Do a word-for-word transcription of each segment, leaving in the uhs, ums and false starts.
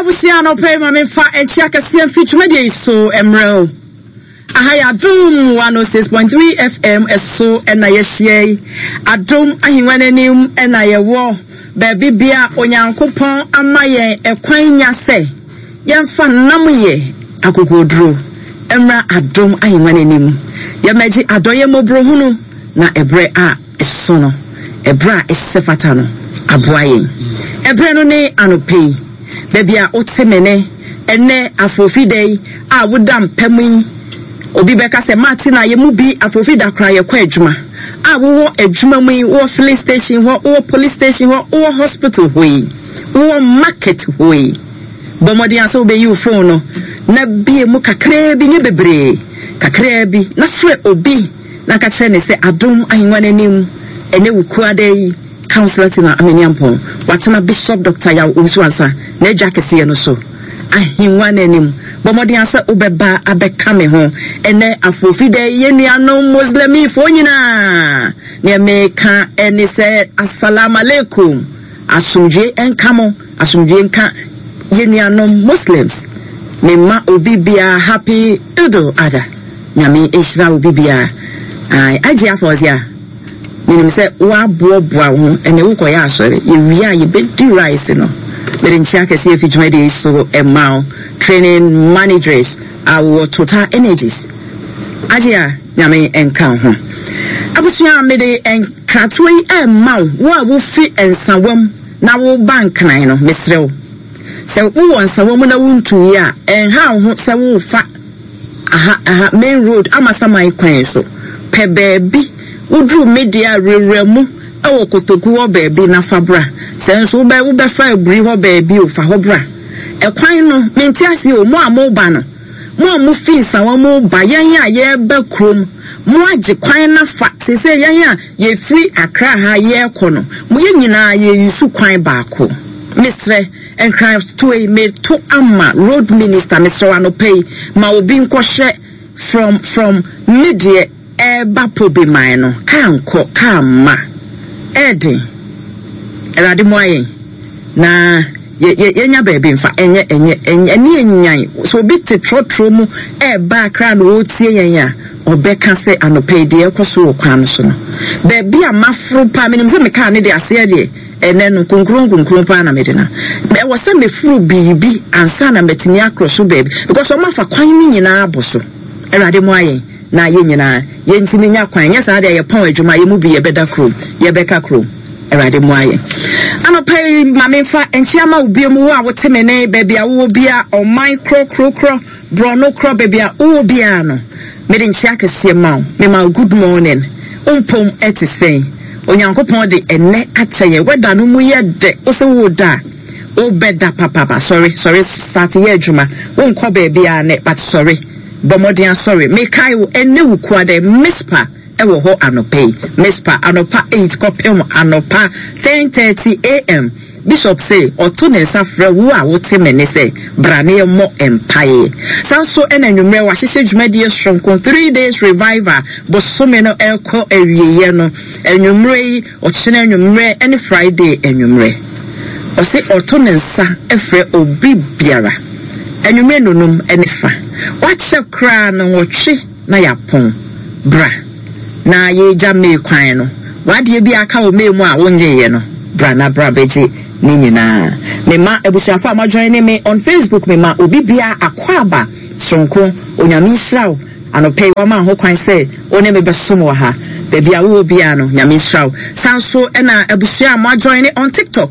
Abusua, anɔpa yi ma memfa nkyia kɛseɛ mfiri dwumadie yi so mmerɛ o. Aha yɛ Adom one oh six point three F M ɛso ɛna yɛahyia yi. Adom ahengua n'anim ɛna yɛwɔ baabi bia Onyankopɔn ama yɛn ɛkwan nya sɛ yɛmfa nam yɛ akokoduro mmra Adom ahengua n'anim. Yɛmɛgye adɔyɛ mmɔborɔhunu na ɛberɛ a ɛso no, ɛberɛ a ɛsɛ fata no aboa yɛn. Ɛberɛ no ne anɔpa yi, baabi a wote me ne ɛnɛ afofida yi a woda mpam yi, obi bɛka sɛ maate na yɛ mu bi afofida koraa yɛkɔ adwuma a wowɔ adwuma mu yi, wowɔ filling station hɔ, wowɔ police station hɔ, wowɔ hospital hɔ yi, wowɔ market hɔ yi, bɔ mmɔden a sɛ wobɛyi wo phone no na bie mu kakraa bi, nyɛ bebree, kakraa bi, na frɛ obi na ka kyerɛ ne sɛ Adom ahengua n'anim ɛnɛ wo kuada yi, Councillor Tina Amaniampɔn watena Bishop Doctor Yaw Owusu-Ansah n'adwa kɛseɛ no so, ahengua n'anim. Bɔ mmɔden sɛ wobɛba abɛka me ho ɛnɛ afofida yi. Yɛn nuanom Muslimifoɔ nyinaa, nea meka ɛne sɛ assalamu alaikum, asomdwe nka mo, asomdwe nka yɛn nuanom Muslims. Mema obi biara happy Idul Adha. Nyame nhyira obi biara. Agye afɔdze a menim sɛ woaboaboa wo ho ɛnɛ wokɔyɛ asɔre, yɛwie a yɛbɛdi rice no. Mede nkyia kɛseɛ afi dwumadie so ɛma wo training managers a wowɔ Total Energies. Agye a Nyame nka wo ho. Abusua, mede nkratoɔ yi ɛma wo, wo a wofi Nsawam na woba Nkran no. Mesrɛ wo sɛ wowɔ Nsawam na wontuyi a, ɛnha wo ho sɛ wofa aha aha main road Amasaman kwan so. Pɛ baabi woduru media wurawura mu ɛwɔ Kotoku hɔ baabi na fa bra. Sɛ nso wobɛ wobɛfa Aburi hɔ baabi o, fa hɔ bra. Ɛkwan no mente ase o. Mo a moba no, mo a mofi Nsawa mo ba, yɛn a yɛreba kurom, mo agye kwan na fa sese yɛn a yɛfiri Akra ha yɛrekɔ no, mo yɛ nyinaa yɛyisu kwan baako. Mesrɛ, nkratoɔ yi meto ama road minister. Mesrɛ wo, anɔpa yi ma obi nkɔhwɛ from from me deɛ ɛreba Pobiman no, kaa nkɔ kaa mma ɛɛden. Awurade mu ayɛn na yɛnya baabi mfa ɛnyɛ ɛnyɛ ɛnyɛ ɛne ɛnyan. Sɛ obi te trɔtrɔ mu ɛɛba Akra na ɔretie yɛn a, ɔbɛka sɛ anɔpa yi deɛ ɛkɔ so wɔ kwan no so no, baabi a maforo paa, menim sɛ mekaa ne de aseɛ deɛ ɛnɛ no kunkun kunkun paa na mede na ɛwɔ sɛ meforo biribi ansa na mɛtumi akorɔ so baabi, because ɔmo afa kwan no nyinaa abɔ so. Awurade mu ayɛn na yɛn nyinaa yɛntumi nya kwan. Nyɛ saa deɛ, yɛpɔn adwuma, yɛn mu bi yɛbɛda kurom, yɛbɛka kurom. Awurade mu ayɛ. Anɔpa yi ma memfa nkyia ma wo bio mu, wo a wote me ne baabi a wowɔ bia, ɔman korɔ borɔno korɔ, baabi a wowɔ biara no, mede nkyia kɛseɛ ma wo. Mema wo good morning. Wompom ɛte sɛn? Onyankopɔn de ɛnɛ akyɛ yɛn. Wɛda no mu yɛ dɛ. Wo sɛ wo da a wobɛda papapa. Sɔre, sɔre, start yɛ adwuma. Wonkɔ baabi a nɛ, but sɔre, bɔ mmɔden asɔre. Mekae wo, ɛnɛ wo kua dɛ Mispa ɛwɔ hɔ anɔpa yi. Mispa anɔpa eight kɔpem anɔpa ten thirty a m. Bishop sɛ ɔto ne nsa frɛ wo a wote me ne sɛ bra ne yɛmmɔ mpaeɛ. San so ɛna anwummerɛ wahyehyɛ dwumadie soronko, three days revival, bosome no ɛrekɔ awieeɛ no. Anwummerɛ yi, ɔkyena anwummerɛ ɛne Friday anwummerɛ, ɔse ɔto ne nsa frɛ obi biara. Anwummerɛ nonum ɛne fa wakyɛ koraa no nwɔtwe na yɛapɔn. Bra na yɛgya May kwan no, wadeɛ bi aka wɔ May mu a wonyeeɛ no, bra na bra bɛgye ne nyinaa. Mema abusuafo a moajoin ne me on Facebook, mema obi bia akɔ aba soronko. Onyame nhyira wo anɔpɛ yi wama ho kwan sɛ wo ne me bɛsom wɔ ha. Baabi a wowɔ biara no, Nyame nhyira wo. San so ɛna abusua a moajoin ne on TikTok,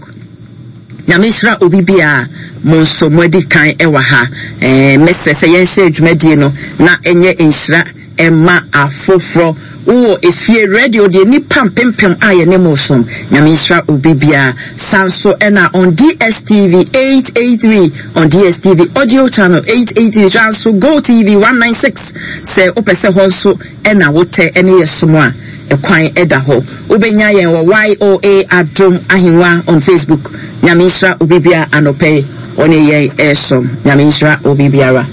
Nyame nhyira obi biara. Mo nso moadi kan ɛwɔ ha. ɛɛ mɛsrɛ sɛ yɛnhyɛ dwumadie no na ɛnyɛ nhyira ɛma afoforɔ. Wowɔ efie radio deɛ, nipa mpempem a yɛne mo som, Nyame nhyira obi biara. San so ɛna on D S T V eight eight three, on D S T V audio channel eight eight three, san so Go T V one nine six. Sɛ wopɛ sɛ hɔ nso ɛna wotɛ ɛne yɛ som a, ɛkwan ɛda hɔ. Wobɛnya yɛn wɔ Y O A Adom Ahengua on Facebook. Nyame nhyira obi biara anɔpɛ yi ɔne yɛn ɛsom. Nyame nhyira obi biara.